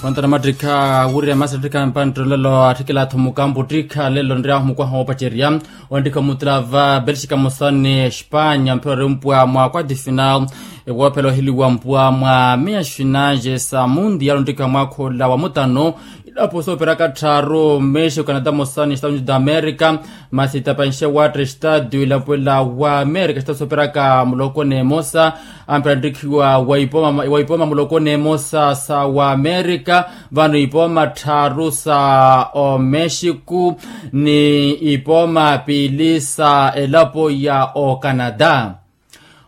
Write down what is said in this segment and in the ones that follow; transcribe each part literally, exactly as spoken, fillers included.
Tontona mattikha wurira masatikha mpanttolelo atthikela athomuka mputtikha lelo nriyahu mukwaha woopacerya. Onttikha omutula va belxika mosani espanya mphira orimpwa mwa kwati final. Ewoophela oheliwa mpwa mwa meya xinaxe sa mundial onttikha mwaakhola wa mutano. Ilapo sooperaka tthaaru mexico canada mosani estados unidos da america. Masi tapanxe watta estadio ilapwela wa america estados sooperaka muloko n'emosa. Amphira nttikhiwa wa ipoma muloko n'emosa sa wa america. Vano ipoma tthaaru sa omexico ni ipoma piili sa elapo ya ocanada.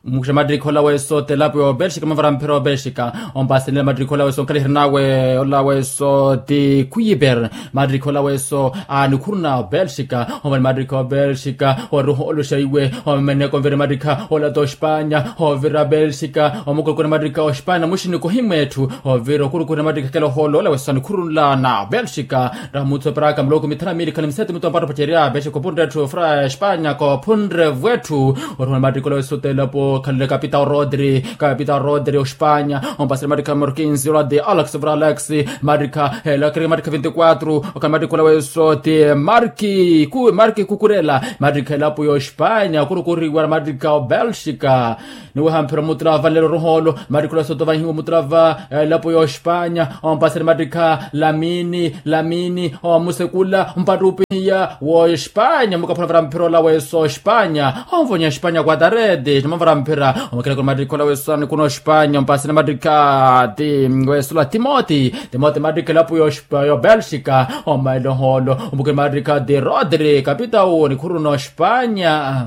Mukixa mattikhi ola weso t'elapo ya obelxika mavara mphira obelxika. Ompasenela mattikhi ola weso nkhalihiri nawe ola weso ti kuyiper. Mattikhi ola weso anikhuruna obelxika. Omani mattikhi obelxika oriho oluxa iwe. Omeneko nvira mattikha ola t'ospanya ovira belxika omukulukuna mattikha ospanya muxini kohimwa etthu. Ovira okulukuna mattikha kela oholo ola weso anikhurunla na belxika. Raha mutsu operaka muloko mithanu amili khali misete muttu ampatto pacerya belxika opunre etthu ofira espanya kophunre vwetthu. Orihona mattikhi ola weso t'elapo khalile kapitao rodri kapitao rodri ospanya. Ompasile mattikha morkinsi ola ti alex vira alex. Mattikha ela kiri mattikha vinti quatro okhala mattikhi ola weso ti marki ku marki kukurela. Mattikha elapo y'ospanya okurukuriwa mattikha obelxika. Niweha mphira omutula va nlelo oruhoolo mattikhi ola weso ti ovahiwa omutula va elapo y'ospanya. Ompasile mattikha lamini lamini omusekula mpattupi ya wospanya mukaphula vara mphira ola weso ospanya. Onvonya ospanya kwa tareti nimavara mphira omakela kuna mattikha ola weso anikuna ospanya ompasile mattikha ti weso la timoti. Timoti mattikha elapo y'obelxika omaila ohoolo omukela mattikha ti rodri kapitao nikhuruna ospanya.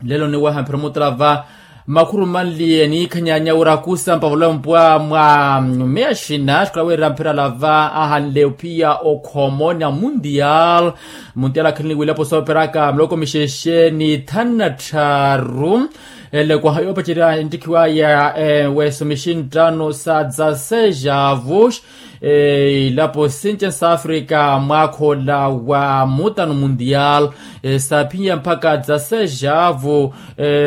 Lelo niweha mphira omutula va makhuru manliye niikhanyanya wira kusa mpavula mpwa mwa meya xina xikhala wira mphira lava ahanle ophiya okhomo na mundial. Mundial akhalini wilapo sooperaka muloko mixexe ni thanu na tthaaru. Ele kwaha yoopacerya enttikhiwaya weso mixinttano sa dza sejavos. Ilapo since sa africa mwaakha ola wa mutano mundial. Saaphinye mpakha dza sejavo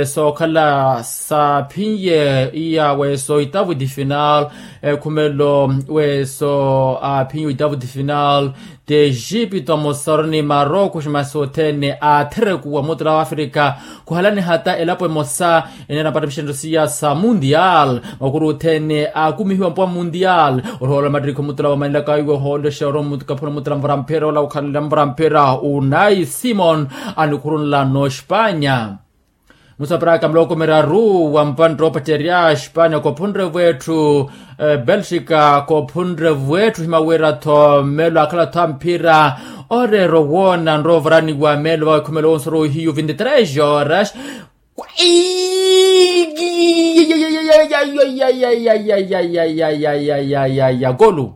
sookhala saaphinye iya weso oitavu di final. Ekhumelo weso aaphinye oitavu di final. T'exipto amosaru ni maroko ximasi othene aatherekuwa mutula wa africa. Khuhalani hata elapo emosa eneera mpatto mixenttano siya sa mundial. Makuru othene aakumihiwa mpuwa mundial. Orihoola mattikhi omutula wamanelaka iwe ohoolexeya orowa mukaphula omutula mvara mphira ola okhanela mvara mphira unai simon. Anikhurunla n'ospanya. Musaparaka muloko miraru wa mpantta oopacerya espanya kophunre vwetthu. Belxika kophunre vwetthu himawira-tho mmelo akhala-tho a mphira. Oreera owoona nrovaraniwa meelo vawe khumelo wonse orowa ohiyu vinti tres horas. Golu.